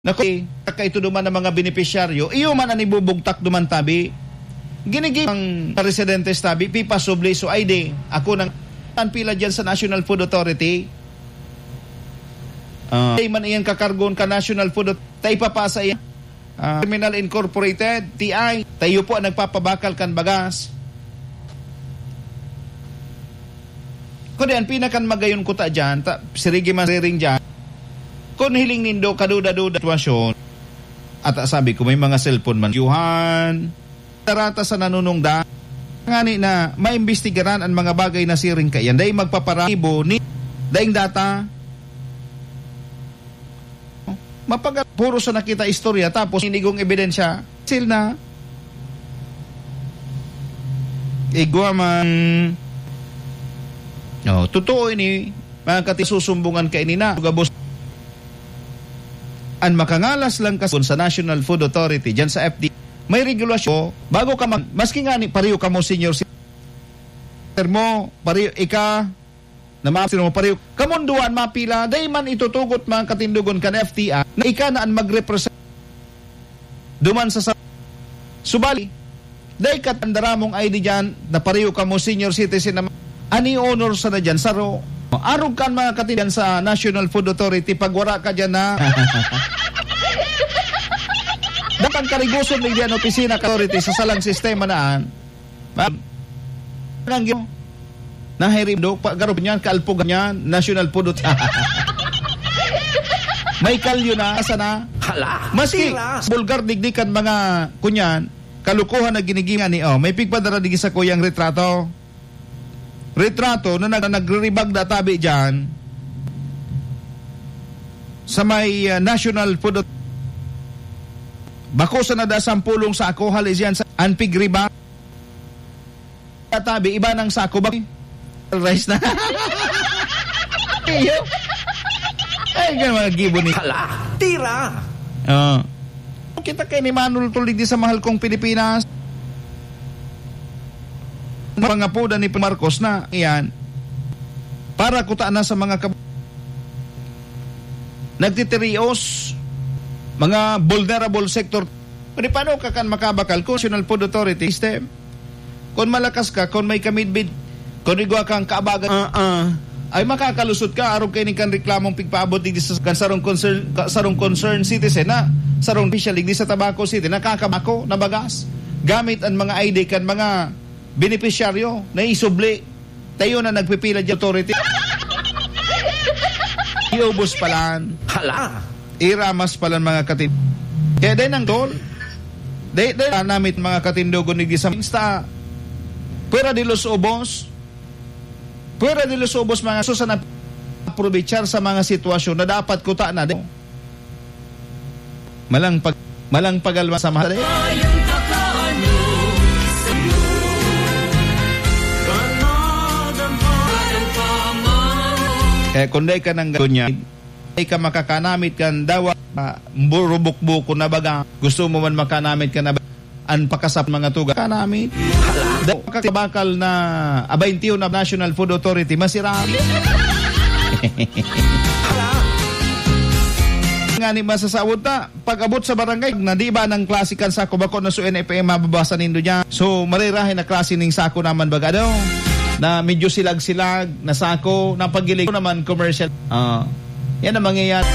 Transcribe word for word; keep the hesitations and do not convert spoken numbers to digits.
Naku, kakaito duman ang mga benepisyaryo, iyo man an ibubugtak duman tabi. Ginigib ang residentes tabi, pipasubli, so ay di, ako nang, ang pila dyan sa National Food Authority. Ah, ay man iyan kakargon ka National Food Authority, ta ipapasa iyan. Ah, Terminal Incorporated, T I, tayo po ang nagpapabakal kan bagas. Kundi ang pinakan magayon ko ta dyan, ta, sirigi man riring dyan, kung hiling nindo, kaduda-duda sitwasyon, at, ah, sabi ko, may mga cellphone man. Yuhan, tarata sa nanunungda, ngani na maimbestigaran ang mga bagay na siring kaiyan. Dai magpaparaibo ni daing data. Mapaga-, puro sa nakita istorya, tapos inigong ebidensya. Sil na. Igwa man. Oh, totoo ini, mga kati-, susumbungan ka ini na. Gabos. An makangalas lang kas-, sa National Food Authority, dyan sa F D A, may regulasyon. Bago ka mag-, maski nga ni, pariyo ka mo, senior citizen mo, pariyo, ika, na mga sino mo pariyo. Kamunduan mapila, dai man itutugot mga katindogon kan F T I na ika na an magrepresent duman sa sa-, subali, dai ka tanda ramong I D dyan, na pariyo ka mo senior citizen na ani honor sa na dyan, saro. Arog kan mga katindogon sa National Food Authority, pag wara ka dyan na. Datang karigoson ni diyan opisina ka authority sa salang sistema naan. Ma'am, ang gyo-, nahirim do, pa, garop niyan, kaalpog niyan, national pudot. May kalyo na, asa na? Hala, Maski tira. Bulgar digdi kan mga, kunyan, kalukuhan na ginigiyan ni, oh, may pigpadara digdi sa kuyang retrato. Retrato na nag-, nagriribag na tabi dyan sa may, ah, national pudot. Bako sa nada sampulong sa ako, hali siyan sa anpig riba. Tabi, iba ng sako ba? Rice na. Iyo. Ay, ganun mga gibo ni Hala, tira! Ah. Kita kay ni Manol Tulig di sa mahal kong Pilipinas. Pangapodan ni Marcos na, iyan. Para kuta na sa mga kab-, nagtitirios, mga vulnerable sector. Pwede paano ka kan makabakal kung National Food Authority system? Kung malakas ka, kung may kamidbid, kung igwa kang kaabagan, ah, ah, ay makakalusot ka, arog kaini kan reklamong pigpaabot digdi sa kan sarong concern, ka-, sarong concerned citizen na sarong official digdi sa Tabaco City, nakakabako, nabagas, gamit ang mga I D kan mga benepisyaryo na isubli. Tayo na nagpipila di authority. Iubos palan. Hala! Iramas palan mga katin-, kaya din ang tol. Dai, dai namit mga katindogon ni Gisam. Insta. Pwera de los ubos. Pwera de los ubos mga susan na aprovechar sa mga sitwasyon na dapat kuta na din. Malang pag-, malang pagalma sa mahal. Kaya kung dai ka nang ganyan, dai ka makakanamit kan dawa, ah, burubukbuko na baga. Gusto mo man makanamit ka na ba-, an pakasap mga tuga. Kanamit. Daw, bakal na abayntiyo na National Food Authority, masira. Ngani masasawod ta, pag-abot sa barangay, na di ba nang klase kan sako bako na so N F M mababasa nindo dyan? So, marirahay na klase ning sako naman baga daw, na medyo silag-silag, na sako, na paggilig naman commercial. Ah, yan ang mangyayari.